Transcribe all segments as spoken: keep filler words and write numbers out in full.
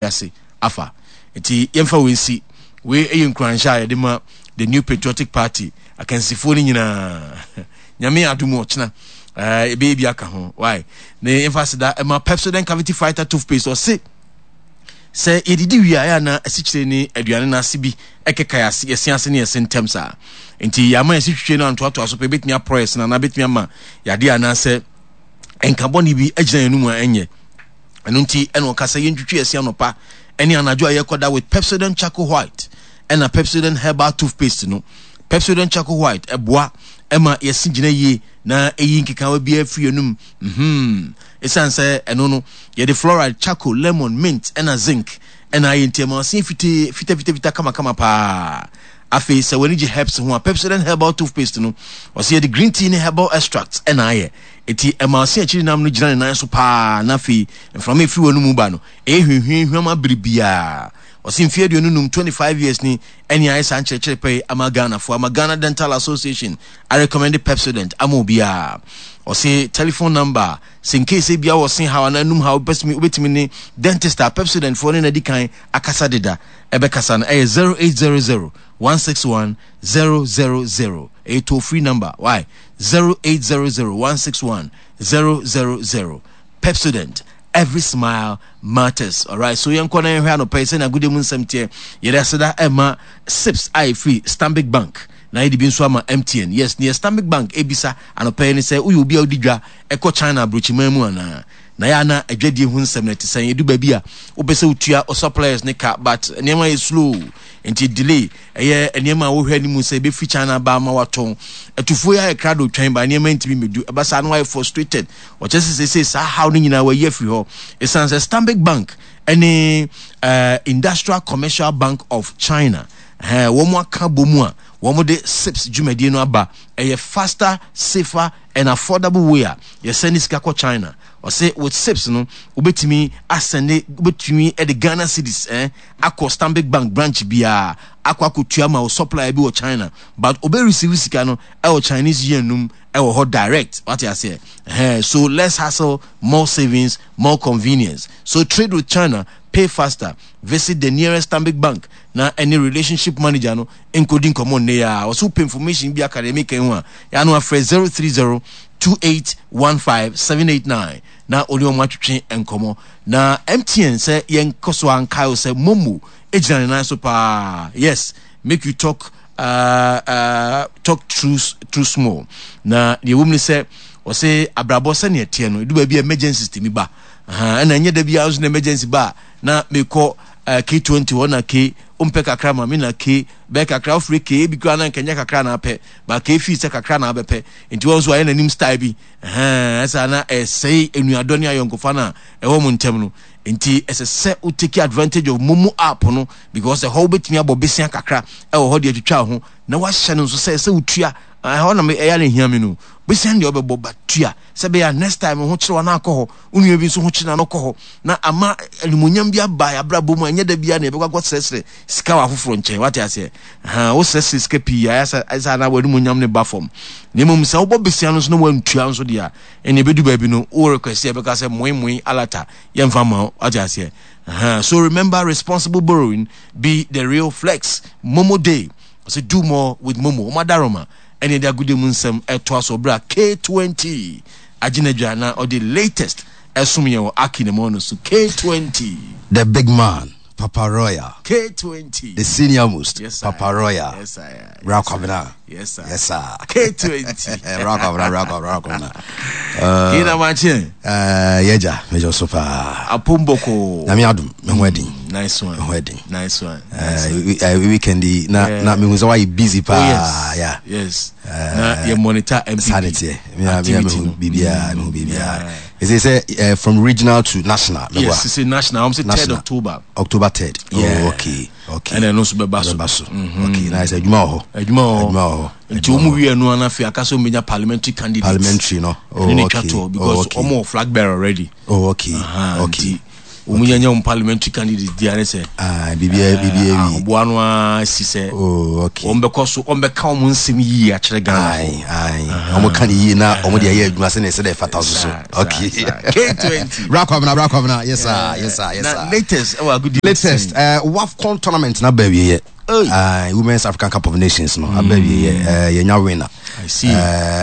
Ase afa nti yɛmfa wei nsi. Wei yɛ nkuranhyɛ a yɛde ma the New Patriotic Party akansifoɔ no nyinaa. Nyame adom ɔkyena ɛbɛyɛ bi aka ho. Why na yɛmfa aseda ɛma Pepsodent Cavity Fighter toothpaste. Ɔse sɛ yɛdidi wie a, ɛyɛ na asikyire ne aduane no ase bi ɛkeka yɛase, yɛse ase ne yɛse ntɛm saa. Nti yɛama yɛse twitwe no antoatoa so pɛ, ɛbɛtumi aporɔ yɛse no anaa bɛtumi ama yadeɛ anaasɛ nka bɔne bi agyina yɛn mu a ɛnyɛ. Ɛno nti ɛna ɔka sɛ yɛntwitwi yɛse anɔpa ɛne anadwo a yɛkɔda with Pepsodent Charcoal White ɛna Pepsodent Herbal Toothpaste no. Pepsodent Charcoal White ɛboa ɛma yɛse gyina yie na ɛyi nkekawa biara firi yɛnum. mhm ɛsiane sɛ ɛno no yɛde fluoride, charcoal, lemon, mint ɛna zinc ɛna ayɛ, nti ɛma ɔse fitee fitafitafita kamakama paa. Afei sɛ w'ani gye herbs ho a, Pepsodent Herbal Toothpaste no, ɔsɛ yɛde green tea ne herbal extracts ɛna ayɛ, eti ɛma ɔse akyiri nam no gyina ne nan so paa. Na afei mframa efiri wɔn mu ba no ɛyɛ hwehwɛ hwam abere biara. Ɔse mfeɛ aduonu num, twenty-five years ni ɛne ayɛ saa nkyerɛkyerɛ pɛ yi ama Ghanafoɔ, ama Ghana Dental Association arecommend Pepsodent ama obiara. Ɔse telephone number sɛ nkese bia wɔ se haw anaa num haw wobɛtumi ne dentist a Pepsodent foɔ ne nadi kan akasa deda ɛbɛkasa no, ɛyɛ zero eight zero zero one six one zero zero zero. Ɛyɛ toll free number. Why? zero eight zero zero one six one zero zero zero. Pepsodent, every smile matters. Alright, so yɛnkɔ na yɛhwɛ anɔpa yi sɛnea agodie mu nsɛm teɛ. Yɛde aseda ɛma sips a ɛfiri Stanbic Bank na yɛde bi nso ama M T N. Yes, neɛ Stanbic Bank ebisa anɔpa yi ne sɛ woyɛ obi a wodi dwa ɛkɔ China aburokyiman mu anaa na yɛ ana adwadie ho nsɛm no ɛte sɛn? Ɛdu baabi a wopɛ sɛ wotua o suppliers ne ka, but nneɛma yɛ slow nti delay. Ɛyɛ nneɛma a wohwɛ anim sɛ ɛbɛfiri China ba ama watɔn atufuo yi ayɛ krado twɛn ba nneɛma ntumi mmɛdu. Ɛba saa no wayɛ frustrated. Ɔkyɛ sɛ sɛsɛ saa haw no nyinaa wayi afiri hɔ ɛsiane sɛ Stanbic Bank ɛne uh, Industrial Commercial Bank of China uh, wɔn aka bɔ mu a wɔn de SIPS dwumadie no aba. Ɛyɛ faster, safer and affordable way a yɛsɛne sika kɔ China. Ɔsɛ with SIPS no wobɛtumi asɛne, wobɛtumi de Ghana cedis eh, akɔ Stanbic Bank branch biara akɔ akɔtua ma wo supplier bi wɔ China, but obe receive sika no ɛwɔ Chinese yen num ɛwɔ hɔ direct. Wate aseɛ? Ɛhɛn, so less hassle, more savings, more convenience. So trade with China, pay faster. Visit the nearest Stanbic Bank na ɛne relationship manager no nkɔdi nkɔmmɔ nnɛ yi a. Ɔsɛ wopɛ information bi aka deɛ meka ho a, yɛano afrɛ zero three zero two eight one five seven eight nine na ɔne ɔmo atwetwe nkɔmmɔ. Na M T N sɛ yɛnkɔ so ankae wo sɛ MoMo gyina ne nan so paa. Yes, make you talk uh, uh, talk true, true small. Na deɛ ɛwɔ mu ne sɛ ɔsɛ abrabɔ sɛnea ɛteɛ no, ɛdu baabi a emergencies tumi ba. Ɛna ɛnyɛ da biara nso na emergency ba a na mekɔ uh, K twenty hɔ na K wompɛ kakra ma me na K bɛyɛ kakra wofiri K ebi koraa na nkɛnyɛ kakra na apɛ ba K fii sɛ kakra na abɛpɛ. Nti wɔn nso ayɛ n'anim style bi ɛsa na ɛsɛe enuadɔ ne ayɔnkofa no a ɛwɔ mo ntɛm no. Nti ɛsɛ sɛ wo take advantage of MoMo app no because ɛhɔ wobɛtumi abɔ besia kakra ɛwɔ hɔ de atwitwa ho na wahyɛ no nso sɛ sɛ wotua ɛhɔ na ɛyɛ na ehia mi no besia deɛ ɔbɛbɔ ba tua sɛ bɛyɛ next time ho kyerɛ wɔn akɔ hɔ, wo nua bi nso ho kyerɛ no kɔ hɔ na ama animonyam bi aba abrabɔ mu a ɛnyɛ da biara na yɛbɛkɔ akɔ srɛsrɛ sika wɔ afoforɔ nkyɛn. Wate aseɛ? Ha wosrɛsrɛ sika pii ayɛ sɛ ɛsɛ ana w'animonyam ne ba fam. Na mmom sɛ wobɔ besia no nso na wantua nso deɛ a, ɛne ɛbɛdu baabi no wo request yɛbɛka sɛ moe moe alata yɛmfa ma wo. Wate aseɛ? So remember, responsible borrowing be the real flex. MoMo day, ɔsɛ do more with MoMo. Ɔmo adaroma ɛne ɛde agode mu nsɛm ɛtoa so ɔbrɛ a K twenty agyinadwa na ɔde latest ɛsom yɛn wɔ aki ne mu no so. K twenty. The big man, Papa Royal. K twenty. The senior most. Yes, sir. Papa Royal. Yes, sir. Bra Kwabena. Yes, sir. Yes, sir. K twenty. Bra Kwabena, Bra Kwabena, Bra Kwabena. Kí na ma kye? Uh, yɛgya, mɛgya so paa. Apomboko. Nyame adom, me ho ɛden. Nice one. Me ho ɛden. Nice one. Uh, weekend yi, na, Yeah. na mehu sɛ woayɛ busy paa. Oh, yes. Yeah. Yes. Na yɛ monitor N P P. Saa ne teɛ. Me a- me a activity mehu no. biribiara, mehu biribiara. Yeah. Ɛsɛ sɛ uh, from regional to national. Meboa. Yes, it's a national. I'm say third National. October. October third. Yeah. Oh, okay. Okay. Ɛna ɛno nso bɛba so. Bɛba so. Okay. Na ɛsɛ adwuma wɔ hɔ. Adwuma wɔ hɔ. Adwuma wɔ hɔ. Nti wɔn wie no ana afei aka sɛ wɔn bɛnya parliamentary candidate. Parliamentary no. Oh, Ɛne ne twa okay. toɔ because Oh, okay. wɔn wɔ flag bearer already. Oh, okay. Aha, okay. nti Wɔn nyɛ wɔn parliamentary candidate di ane sɛ Ah, biribiara biribiara wie. Ɔboa no ara si sɛ Oh, okay. wɔn bɛkɔ so, wɔn bɛka wɔn nsɛm yie akyerɛ Ghana. Aye, aye. Ɔmo ka ne yie na ɔmo de ayɛ adwuma sɛnea ɛsɛ dɛ ɛfata so so. Saa, Okay. saa, saa. K twenty. Bra Kwabena, bra Kwabena. Yes sir, yes sir, yes Na sir. latest ɛwɔ agudi. Latest uh, WAFCON tournament na ba awieɛ. Hey. Uh, Women's African Cup of Nations no aba awieɛ. Uh, yɛnya winner. I see. Uh,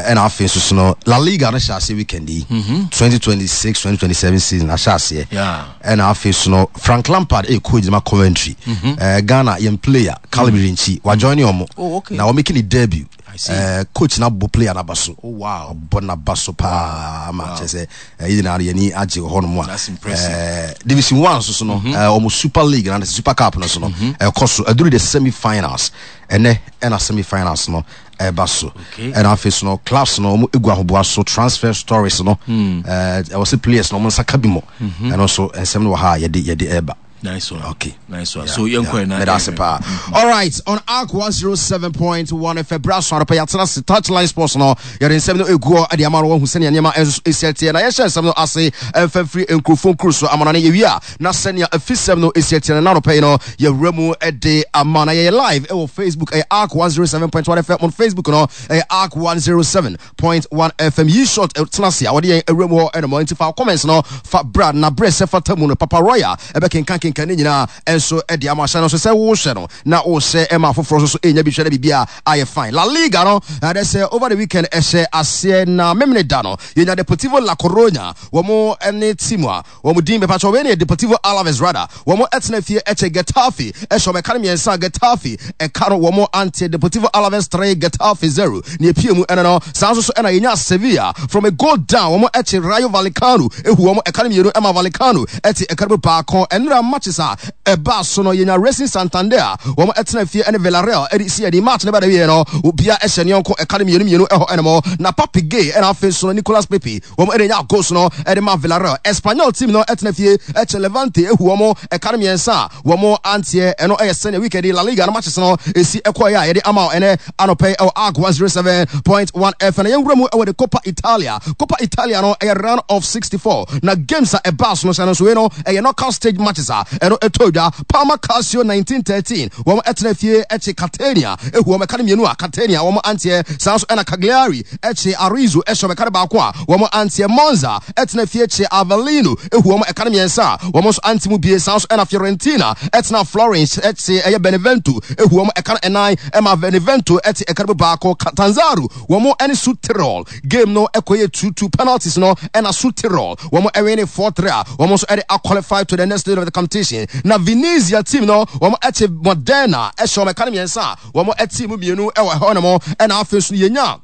ɛna afei nso so no, La Liga no hyɛ aseɛ weekend yi. twenty twenty-six twenty twenty-seven season ahyɛ aseɛ. Yeah. Ɛna afei so no, Frank Lampard ɛyɛ coach ma Coventry. Uh, Ghana yɛn player Caleb Yirenkyi wa join ɔmo. Oh, okay. Na wɔn making ne debut. I see. Uh, coach na bɔ player n'aba so. Oh, wow. Ɔbɔ n'aba so paa ma kyerɛ sɛ ɛyi nyinaa no yɛni agye wɔ hɔnom a. That's impressive. Eh, division one nso so no, eh, ɔmo Super League na Super Cup no so no ɛkɔ so, ɛduru the semi finals ɛnɛ, ɛna semi finals no ɛba so. Okay. Ɛna afei so no, clubs no ɔmo egu ahoboa so. Transfer stories no, ɛɛ ɛwɔ sɛ players no ɔmo nsa ka bi mɔ, ɛno nso nsɛm no wɔ ha a yɛde yɛde ɛɛba. Nice one. Okay. Nice one. So yɛn kɔ na. Meda ase paa. All right, on Arc one oh seven point one F M, bra so anɔpɛ yɛatena se Touchline Sports no, yɛde nsɛm no ɛgu hɔ de ama no wahu sɛnea nneɛma ɛnso ɛsi ateɛ, na yɛhyɛ nsɛm no ase ɛmfa mfiri nkurɔfoɔ nkuro so amanɔne. Yɛwie a, na sɛnea afisɛm no ɛsi ateɛ no na anɔpɛ yi no yɛwura mu de ama na yɛyɛ live ɛwɔ Facebook, ɛyɛ Arc one oh seven point one F M on Facebook no, ɛyɛ Arc one oh seven point one F M. Yi short tena ase a wɔde yɛn awura mu hɔ ɛnom, nti fa comments no fa bra na berɛ sɛ fata mu no, Papa Royal ɛbɛkenka kenka ne nyinaa ɛnso ɛde ama. Ahyɛ no nso sɛ wohyɛ no na wohyɛ ɛma afoforɔ nso so ɛnya bi hwɛ na biribi a ayɛ fine. La Liga no ɛdɛ sɛ over the weekend ɛhyɛ aseɛ na memene da no yɛnya Deportivo La Coruña, wɔn ne team a wɔn din bɛpa kyɛ wɔn ne Deportivo Alaves rather, wɔn ɛtena fie ɛkyɛ Getafe ɛhyɛ wɔn ɛka no mmiɛnsa. Getafe ɛka no wɔn ante. Deportivo Alaves three, Getafe zero ne epie mu ɛno no. Saa nso so ɛna yɛnya Sevilla from a goal down, wɔn ɛkye Rayo Vallecano ehu wɔn ɛka no mmienu ɛma Vallecano ɛte ɛka no baako. Ɛnura matches a ɛbaa so no, yɛnya Racing Santander a wɔn ɛtena fie ɛne Villarreal ɛde si ɛde match ne ba da wie no, obia ɛhyɛ ne yɔnko ɛka no mmienu mmienu ɛhɔ ɛnum na Pape Gueye ɛna afei so no Nicolas Pepe wɔn ɛde nya goals no ɛde ma Villarreal. Espanyol team no ɛtena fie ɛkyɛ Levante ehu wɔn ɛka no mmiɛnsa a wɔn anteɛ. Ɛno ɛyɛ sɛnea weekend La Liga no matches no esi ɛkɔɛ a yɛde ama ɛnɛ anɔpɛ ɛwɔ Arc one oh seven point one F M. Na yɛn wura mu ɛwɔ the Coppa Italia. Coppa Italia no ɛyɛ round of sixty-four na games a ɛbaa so no sɛ no so wei no ɛyɛ knockout stage matches a ɛno ɛtɔ dwa. Parma Calcio nineteen thirteen wɔn ɛtena fie ɛkye Catania ehu wɔn ɛka no mmienu a Catania wɔn anteɛ. Saa nso ɛna Cagliari ɛkye Arezzo ɛhyɛ wɔn ɛka no baako a wɔn anteɛ. Monza ɛtena fie kye Avellino ehu wɔn ɛka no mmiɛnsa a wɔn nso ante mu bie. Saa nso ɛna Fiorentina ɛtena Florence ɛkye ɛyɛ Benevento ehu wɔn ɛka no ɛnan ɛma Benevento ɛte ɛka no baako. Catanzaro wɔn ɛne Südtirol game no ɛkɔyɛ two two, penalties no ɛna Südtirol wɔn ɛwin ne four three a wɔn nso ɛde aqualify to the next stage of the competition. Na Venezia team no wɔn ɛkye Modena ɛhyɛ wɔn ɛka no mmiɛnsa a wɔn ɛte mu mmienu ɛwɔ ɛhɔ nom. Ɛna afei nso yɛnya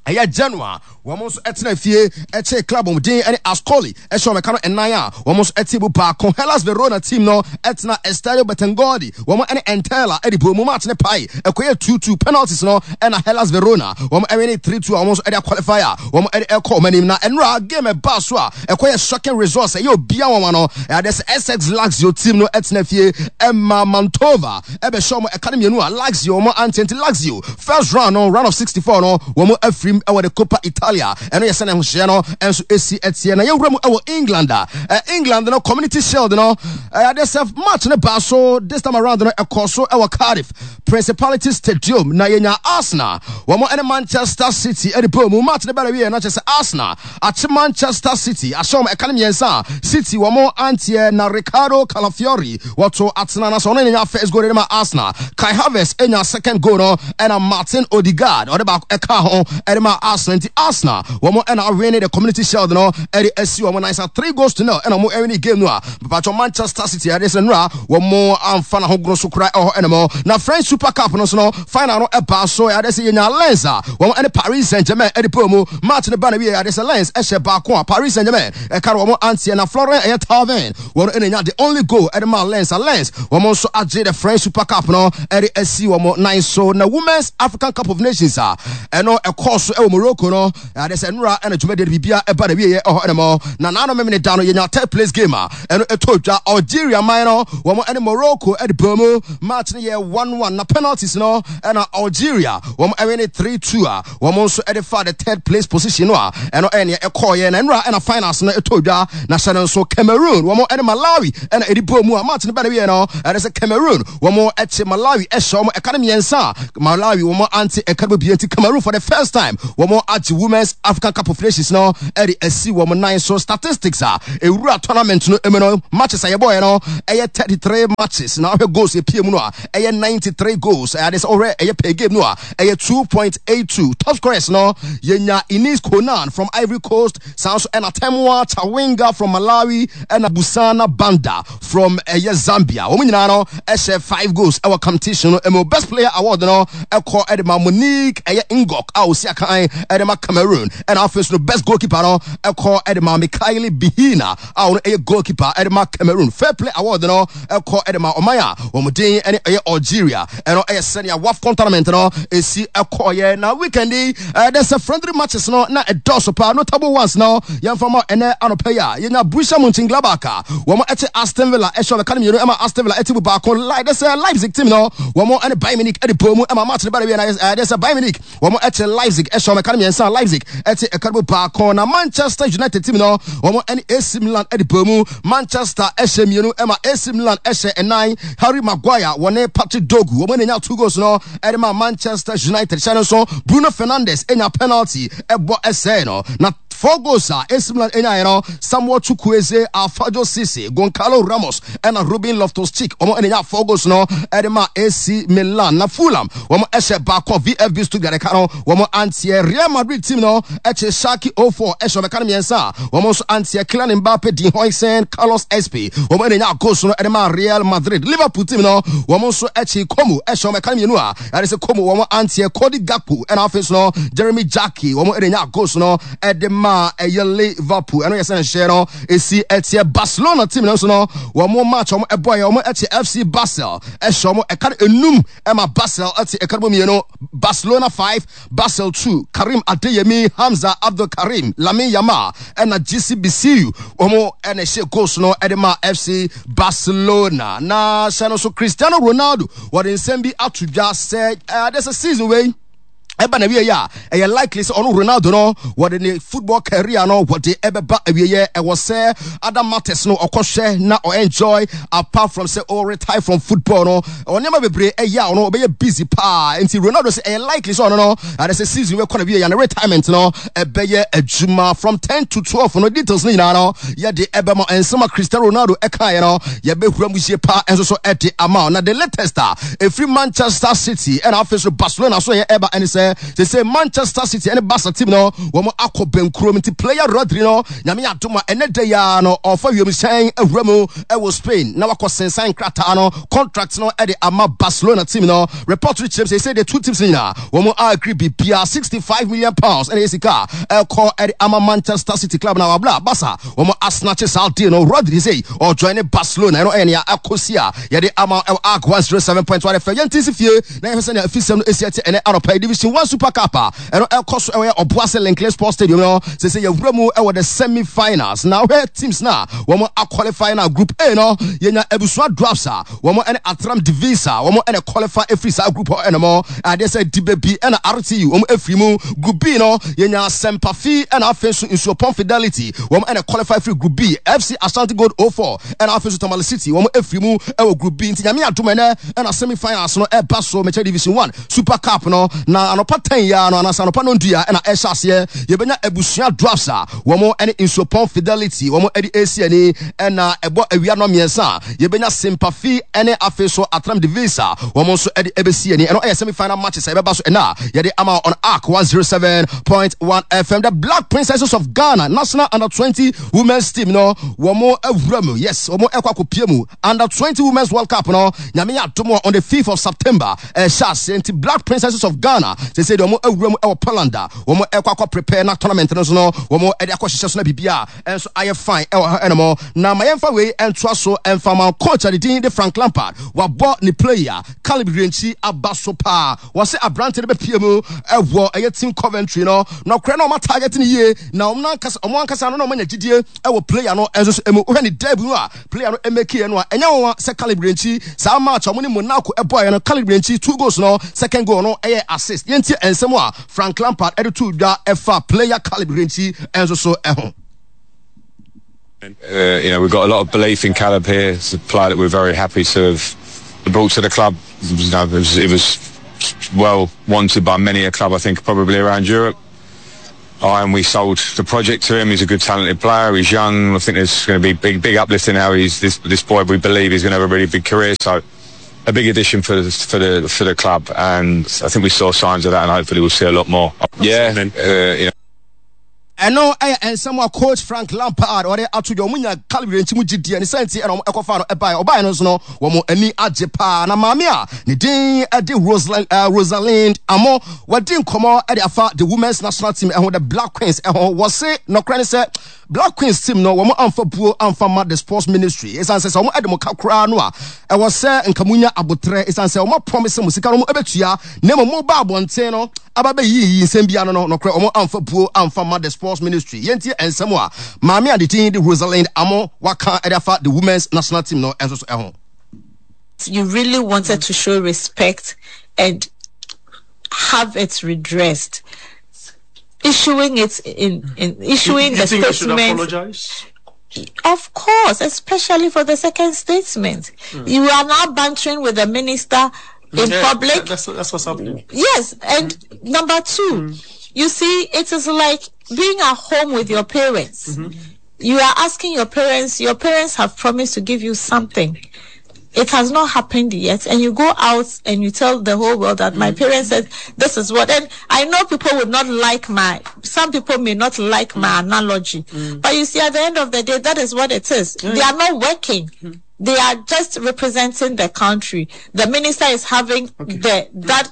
ɛyɛ Genoa, wɔn nso ɛtena fie ɛkyɛ club wɔn din ɛne Ascoli ɛhyɛ wɔn ɛka no ɛnan a wɔn nso ɛte mu baako. Hellas Verona team no ɛtena Estadio Bentegodi, wɔn ɛne Entella ɛde bɔ mu, match ne pae ɛkɔyɛ two two, penalties no ɛna Hellas Verona wɔn ɛwin ne three two a wɔn nso ɛde aqualify a wɔn ɛde ɛkɔ wɔn anim. Na ɛnura game ɛbaa so a ɛkɔyɛ shocking results, ɛyɛ obia wɔn ano ɛyɛ sɛ S C Lazio team no ɛtena fie ɛma Mantova ɛbɛhyɛ wɔn ɛka no mmienu a Lazio wɔn ante. Nti Lazio first round no, round of sixty-four no, wɔn afirim ɛwɔ the Coppa Italia. Ɛno yɛ sɛ ne ahohyɛ no ɛnso esi ɛteɛ. Na yɛwura mu ɛwɔ England a England no Community Shield no, ɛyɛ adeɛ sɛ match no baa so this time around no, ɛkɔɔ so ɛwɔ Cardiff Principality Stadium na yɛnya Arsenal wɔn ɛne Manchester City ɛde bɔ mu. Match no bɛrɛ wie na kyerɛ sɛ Arsenal akye Manchester City ahyɛ wɔn ɛka no mmiɛnsa a City wɔn anteɛ. Na Ricardo Calafiori wɔto atena na sɛ ɔno nya first goal de ma Arsenal, Kai Havertz enya second goal no, ɛna Martin Odegaard ɔde baako ɛka ho ɛde ma Arsenal. Nti Arsenal wɔn ɛna awin the Community Shield no ɛde asi wɔn nan sa three goals to nil, ɛna wɔn ɛwin game no a bàtɔ Manchester City ɛde sɛ nura wɔn amfa n'ahogoro so kora ɛwɔ ɛnam. Na French Super Cup no so no, final no ɛbaa so, ɛde sɛ yɛnya Lens a wɔn ɛne Paris Saint Germain ɛde pɔ mu. Match no ba na wie, ɛde sɛ Lens ɛhyɛ baako a Paris Saint Germain ɛka no wɔn anteɛ. Na Florian ɛyɛ Thauvin wɔn ɛna nya the only goal ɛde ma Lens a Lens wɔn nso agye the French Super Cup no ɛde asi wɔn nan so. Na Women's African Cup of Nations a ɛno ɛkɔɔ so ɛwɔ Morocco no, ade sɛ nnora ɛna dwumadie no biribia ɛba na wieɛ ɛhɔ ɛnam. Na naano memene da no, yɛnya third place game a ɛno ɛtɔ dwa. Algeria man no, wɔn ɛne Morocco ɛde bɔ mu. Match no yɛ one one, na penalties no ɛna Algeria wɔn ɛwin ne three two a wɔn nso ɛde fa the third place position no a ɛno ɛyɛ nea ɛkɔɔyɛ. Na nnora ɛna finals no ɛtɔ dwa. Na hyɛ no nso, Cameroon wɔn ɛne Malawi ɛna ɛde bɔ mu a match no bɛ na wieɛ no, ɛde sɛ Cameroon wɔn ɛkye Malawi ɛhyɛ wɔn ɛka no mmiɛnsa a Malawi wɔn ante ɛka no bi. Nti Cameroon, for the first time, wɔn agye Women's African Cup of Nations no ɛde asi wɔn nan so. Statistics a ewura tournament no emu no, matches a yɛbɔɔyɛ no ɛyɛ thirty three matches, na ɔhwɛ goals epie mu no a, ɛyɛ ninety three goals. Ɛyɛ ade sɛ ɔhwɛ ɛyɛ per game no a, ɛyɛ two point eight two. Top scorers no, yɛnya Ines Konan from Ivory Coast, saa nso ɛna Temwa Chawinga from Malawi, ɛna Busana Banda from ɛyɛ Zambia. Wɔn nyinaa no ɛhyɛ five goals ɛwɔ competition no emu. Best player award no ɛkɔ ɛde ma Monique ɛyɛ Ngok a osi akan ɛde ma Cameroon, ɛna afei nso no, best goalkeeper no ɛkɔ ɛde ma Mikaeli Bihina a ɔno ɛyɛ goalkeeper ɛde ma Cameroon. Fair play award no ɛkɔ ɛde ma ɔman a wɔn din ɛne ɛyɛ Algeria. Ɛno ɛyɛ sɛnea WAFCON tournament no esi ɛkɔɔyɛ. Na weekend yi, ɛdɛ sɛ friendly matches no na ɛdɔɔso paa. Notable ones no, yɛmfa ma ɛnɛ anɔpɛ yi a, yɛnya Borussia Mönchengladbach a wɔn ɛte Aston Villa ɛhyɛ ɔbɛka no mmienu ɛma Aston Villa ɛte mu baako. Like dɛ sɛ Leipzig team no, wɔn ɛne Bayern Munich ɛde bɔ mu ɛma match no ba de wie na ɛdɛ sɛ Bayern Munich wɔn ɛte Leipzig ɛhyɛ ɔbɛka no mmiɛnsa, Leipzig ɛte ɛka no mu baako. Na Manchester United team no, wɔn ɛne A C Milan ɛde bɔ mu. Manchester ɛhyɛ mmienu ɛma A C Milan ɛhyɛ ɛnan. Harry Maguire wɔne Patrick Dorgu wɔn anya two goals no ɛde ma Manchester United. Hyɛ no nso, Bruno Fernandes enya penalty ɛbɔ ɛsɛɛ no. Na four goals a A C Milan enyaeɛ no, Samuel Chukwueze, Alfredo Cisse, Goncalo Ramos ɛna Ruben Loftus-Cheek, wɔn ɛna nya four goals no ɛde ma A C Milan. Na Fulham wɔn ɛhyɛ baako, V F B Stuttgart ɛka no wɔn anteɛ. Real Madrid team no ɛkyɛ Schalke zero four ɛhyɛ ɔbɛka no mmiɛnsa a wɔn nso anteɛ. Kylian Mbappe, Dean Huijsen, Carlos Espe, wɔn ɛna nya goals no ɛde ma Real Madrid. Liverpool team no, wɔn nso ɛkyi Como ɛhyɛ wɔn ɛka no mmienu a ɛde sɛ Como wɔn anteɛ. Cody Gakpo ɛna afei so no Jeremy Jacquet, wɔn ɛna nya goals no ɛde ma ɛyɛ Liverpool. Ɛno yɛ sɛ nhyɛ no esi ɛteɛ. Barcelona team no nso no, wɔn match wɔn ɛbɔ yɛ, wɔn ɛte F C Basel ɛhyɛ wɔn ɛka no enum ɛma Basel ɛte ɛka no mmienu. Barcelona five, Basel two. Karim Adeyemi, Hamza Abdul Karim, Lamine Yamal ɛna G C B C U, wɔn ɛna ɛhyɛ goals no ɛde ma F C Barcelona. Na hyɛ no so, Cristiano Ronaldo wɔde nsɛm bi ato dwa sɛ ɛde sɛ season wei ɛba na wie a, ɛyɛ likely sɛ ɔno Ronaldo no wɔde ne football career no wɔde ɛbɛba awieɛ. Ɛwɔ sɛ other matters no ɔkɔhwɛ na ɔenjoy apart from sɛ ɔ retire from football no. Ɔnneɛma bebree ɛyɛ a ɔno ɔbɛyɛ busy paa. Nti Ronaldo sɛ ɛyɛ likely sɛ ɔno no ade sɛ season wei kɔ na wie yɛ ne retirement no ɛbɛyɛ adwuma. From ten to twelve no, details no nyinaa no yɛde ɛbɛma. Nsɛm a Cristiano Ronaldo ɛkaeɛ no, yɛbɛhura mu yie paa ɛnso so ɛde ama. Na the latest a ɛfiri Manchester City ɛna afei so Barcelona so yɛ ɛba ɛne sɛ sɛ sɛ Manchester City ɛne Barca team no wɔn akɔ bɛnkurom. Nti player Rodri no, Nyame adom a, ɛnɛ da yi no ɔfa wiemhyɛn awura mu ɛwɔ Spain na wakɔ sensan krataa no, contract no, ɛde ama Barcelona team no. Report no kyerɛ sɛ sɛ the two teams no nyinaa wɔn agree bibia. sixty-five million pounds ɛna yɛ sika ɛkɔ ɛde ama Manchester City club na wabla Barca wɔn asnatche saa deal no. Rodri sɛ ɔjoin ne Barcelona. Ɛno ɛyɛ nea akɔsi a yɛde ama ɛwɔ Ark one zero seven point one F M. Yɛn ti si fie na yɛhwɛ sɛnea afisɛm no esi ɛte ɛnɛ anɔpa. Division One Super Cup a ɛno ɛkɔ so ɛwɔ Ɔboase Linkley Sports Stadium no, sɛ sɛ yɛwura mu ɛwɔ the semi finals. Na wohwɛ teams na wɔn aqualify na Group A no, yɛnya Abusua Dwarfs a wɔn ɛne Atram Divisa, wɔn ɛna qualify efiri saa group hɔ. Ɛna mo adeɛ sɛ Dibebi ɛna R T U, wɔn efiri mu. Group B no, yɛnya Sempafi ɛna afei nso Nsuopɔn Fidelity, wɔn ɛna qualify firi Group B. F C Ashanti Gold zero four ɛna afei nso Tamale City, wɔn efiri mu ɛwɔ Group B. Nti Nyame adum, ɛnɛ ɛna semi finals no ɛba so, mɛkyɛ Division One Super Cup no. Na anɔpa ten ya no anaasɛ anɔpa no ndua ɛna ɛhyɛ aseɛ. Yɛbɛnya Abusua Dwarfs a wɔn ɛne Nsuopɔn Fidelity wɔn ɛde esi ani, ɛna ɛbɔ awia no mmiɛnsa a, yɛbɛnya Sempafi ɛne afei so Atram Divisa, wɔn nso ɛde ɛbɛsi ani. Ɛno ɛyɛ semi final matches a ɛbɛba so ɛna yɛde ama on Ark one zero seven point one F M. The Black Princesses of Ghana national under twenty women's team no, wɔn awura mu. Yes, wɔn ɛkɔ akɔpie mu Under twenty Women's World Cup no. Nyame adom, on the fifth of September ɛhyɛ aseɛ. Nti Black Princesses of Ghana Sɛ sɛ deɛ wɔn awura mu ɛwɔ Poland a wɔn ɛkɔ akɔ prepare na tournament no so no wɔn ɛde akɔ hyehyɛ so na biribi a ɛnso ayɛ fine ɛwɔ ha ɛnom. Na ma yɛmfa wei ɛntoa so ɛmfa ma coach a ne din de Frank Lampard wabɔ ne player Caleb Yirenkyi aba so paa. Wɔsɛ aberante no bɛpie mu ɛwɔ ɛyɛ team Coventry no nɔkorɛ na ɔma target no yie na ɔmo ankasa ɔmo ankasa no na ɔmo anya gyidie ɛwɔ player no ɛnso so emu. Wohwɛ ne debut no a player no ɛmɛkiɛ no a, ɛnyɛ wɔn sɛ Caleb Yirenkyi saa match a ɔmo ne Monaco ɛbɔɔyɛ no, Caleb Yirenkyi two goals no, second goal no ɛyɛ assist. Yɛntie nsɛm a Frank Lampard ɛde to dwa ɛfa player Caleb Yirenkyi ɛnso so ɛho. Uh, you know, we've got a lot of belief in Caleb here. It's a player that we're very happy to have brought to the club. You know, it was, it was well wanted by many a club, I think, probably around Europe. I and we sold the project to him. He's a good, talented player. He's young. I think there's going to be big, big uplift in how he's this this boy. We believe he's going to have a really big career. So, a big addition for the, for the for the club, and I think we saw signs of that, and hopefully we'll see a lot more. Yeah, uh, you know. Ɛno ɛyɛ nsɛm a coach Frank Lampard ɔde ato dwa. Ɔmo nya Caleb Yirenkyi mu gyidie ne sɛnti ɛna ɔmo ɛkɔfa no ɛbaeɛ. Ɔbaeɛ no nso no, wɔn ani agye paa. Na maame a ne din ɛde Rosalind uh, Rosalind Amo wɔdi nkɔmɔ ɛde afa the women's national team ɛho, the Black Queens ɛho. Wɔse nɔkorɛ ne sɛ Black Queens team no, wɔn amfa buo amfa ma the sports ministry, ɛsiane sɛ sɛ wɔn ɛde mo ka koraa no a, ɛwɔ sɛ nka mo nya abotrɛ, ɛsiane sɛ wɔn promise mo sika no wɔn ɛbɛtua, na mmom mo ba abɔnten no aba bɛyiyi nsɛm bia no no nɔkorɛ wɔn amfa buo amfa ma the sports ministry. Yɛntie nsɛm a maame a ne din de Rosalind Amo waka ɛde afa the women's national team no ɛnso so ɛho. You really wanted to show respect and have it redressed. Issuing it in, in issuing You the think they should statement. apologize? Of course, especially for the second statement. You are now bantering with the minister in Yeah, public. That's, that's what's happening. Yes, and number two, you see, it is like being at home with your parents. You are asking your parents, your parents have promised to give you something. It has not happened yet, and you go out and you tell the whole world that my parents said this is what. And I know people would not like my, some people may not like my analogy, but you see, at the end of the day, that is what it is. They are not working. They are just representing the country. The minister is having the that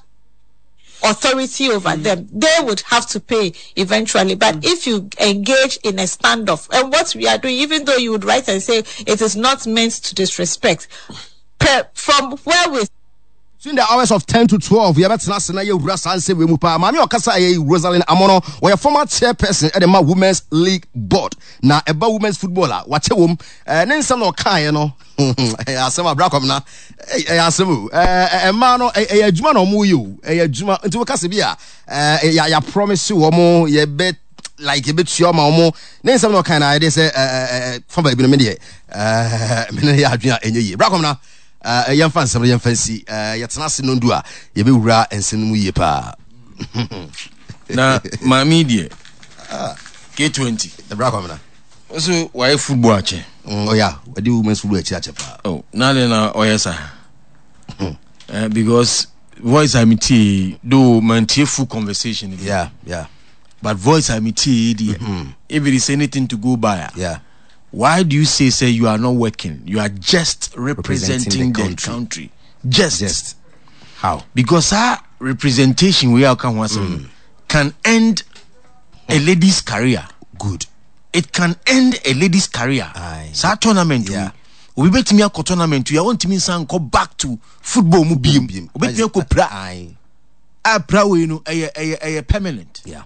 authority over them. They would have to pay eventually. But if you engage in a standoff, and what we are doing, even though you would write and say it is not meant to disrespect, per, from where we Between the hours of ten to twelve yɛbɛtena ase na yɛwura saa nsɛm wei mu paa. Maame a ɔkasa ɛyɛ Rosalind Amono, wɔyɛ former chairperson ɛde ma Women's League Board na ɛba women's football a wakyɛ wɔm. ɛɛ ne nsɛm na ɔkaeɛ no ɛyɛ asɛm a brakɔm na ɛyɛ asɛm o. ɛɛ mmaa no, ɛyɛ adwuma na wɔn yɛ o, ɛyɛ adwuma. Nti wɔkasa bi a ɛɛ yɛ yɛ promise wɔn yɛbɛ like yɛbɛtua ma wɔn. Ne nsɛm na ɔkae na ayɛ de sɛ ɛɛ ɛɛ fa baabi no, me deɛ ɛɛ me ne yɛ adwene a ɛnyɛ yie. Brakɔm na ɛɛ yɛmfa nsɛm no yɛmfa nsi. ɛɛ yɛtena ase no ndu a yɛbɛwura nsɛm no mu yie paa. Na maame deɛ, K twenty. Brakɔm na so wayɛ football akyɛ. Mm, ɔyɛ wɔde women's football akyi akyɛ paa. Oh, na de na ɔyɛ saa uh, because voice a metie, though mantie full conversation yeah yeah but voice a metie deɛ, if it is anything to go by a, yeah why do you say say you are not working, you are just representing, representing the the country. Country, just, Just how? Because our representation we are kan ho asɛm no can end a lady's career. Good. It can end a lady's career. Aye. Saa tournament Yeah. wi, obi bɛtumi akɔ tournament wi a wɔntumi nsan nkɔ back to football mu biem. Biem. Obɛtumi akɔ pra Aye. a pra wei no ɛyɛ ɛyɛ ɛyɛ permanent. Yeah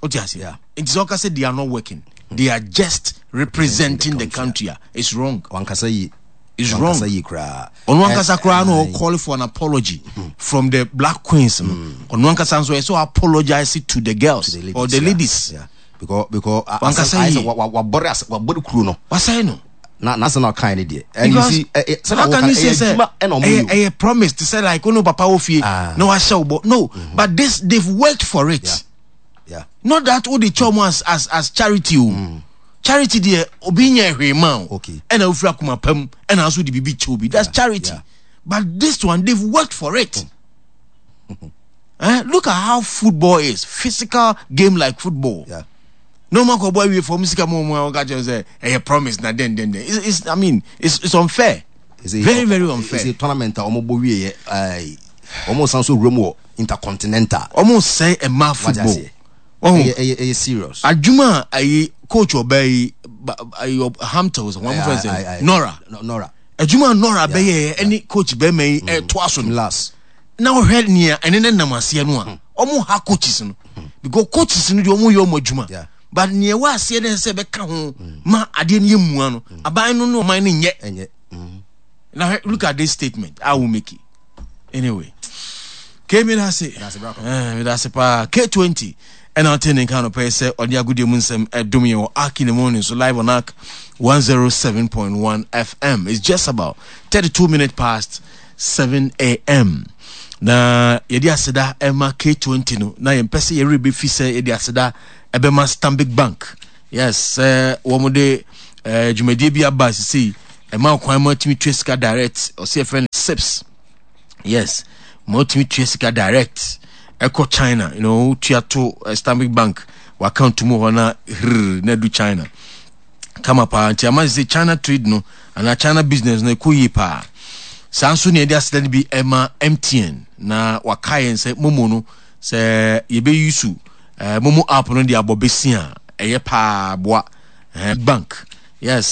o ti ase? Yeah. Nti sɛ ɔka sɛ they are not working, they are just representing the country a, it's wrong. Wankasa yie. It's wrong. Wankasa yie koraa. Ɔno ankasa koraa no Aye. call for an apology from the Black Queens no. Ɔno ankasa nso ɛsɛ apologize to the girls To the ladies, or the yeah. ladies. Yeah, because because Wankasa ayɛ sɛ yie. wa- wa- wabɔre ase, wabɔre kuro no. Wasɛe no. Na n'asɛm na ɔkae ne deɛ, and you Because see ɛ ɛ sɛdeɛ how can wɔka you say ɛyɛ sɛ adwuma ɛna ɔmo ɛyɛ yɛ o. Ɛyɛ promise to say like ono papa wo fie Ah. na wahyɛ wo bɔ no, but this, they've worked for it. Yeah. Yeah not that wo de kyɛ ɔmo as as as charity o. Charity deɛ, obi nyɛ hwee ma o. Okay. Ɛna ofiri akoma pam ɛna nso de biribi kyɛ obi, that's charity. yeah. But this one, they've worked for it. Eh, look at how football is, physical game like football. Yeah no man kɔ bɔ awie fɔm sika mu ɔmu a wɔka kyerɛ sɛ ɛyɛ promise na den den den. it's, it's I mean, it's it's unfair. It's a- Very, very unfair. It's a tournament a ɔmo bɔ wie yɛ ɛɛ Wɔn san so wura mu wɔ intercontinental. Ɔmo sɛe mmaa Wate football. aseɛ? Ɔho ɛyɛ ɛyɛ ɛyɛ serious. Adwuma a ayi coach ɔbaa yi ba- ayi ɔ- Hamptons, wɔn mo fɛn Aye, aye, aye. sɛ Nora. No- Nora. Adwuma a Nora bɛyɛ ɛne coach bɛrima yi ɛtoa so no, Last. Na wɔhwɛ nea ɛne ne nam aseɛ no a, ɔmo ha coaches no, because coaches no deɛ, ɔmo yɛ ɔmo adwuma. Yeah. But nea ɛwɔ aseɛ no sɛ ɛbɛka ho ma adeɛ no yɛ mua no, aban no ne ɔman no nyɛ. Ɛnyɛ mm. Na hwɛ, look at this statement I will make it anyway. K, mi da ase. Medase, bra. Eh, mi da ase paa. K twenty ɛna ɔte ne nka no pɛɛ sɛ ɔde agodie mu nsɛm ɛdom yɛn wɔ Ark in the Morning so, live on Ark one oh seven point one F M. It's just about thirty-two minutes past seven a m. Na yɛde aseda ɛma K twenty no, na yɛmpɛ sɛ yɛwerɛ bɛfi sɛ yɛde aseda ɛbɛma Stanbic Bank. Yes, sɛ wɔn de eh, dwumadie bi aba sisi ɛma kwan ma tumi tua sika direct, ɔsɛ yɛfrɛ no CHIPS. Yes, ma wotumi tua sika direct ɛkɔ China, you know tua to uh, Stanbic Bank w'account mu hɔ na hrrr na du China kama paa. Nti ama sɛ China trade no anaa China business no ɛkɔ yie paa. Saa nso ne yɛde aseda no bi ɛma M T N, na waka yɛn sɛ MoMo no, sɛ yɛbɛyi su uh, MoMo app no de abɔ bɛsi a ɛyɛ paa boa uh, bank. Yes.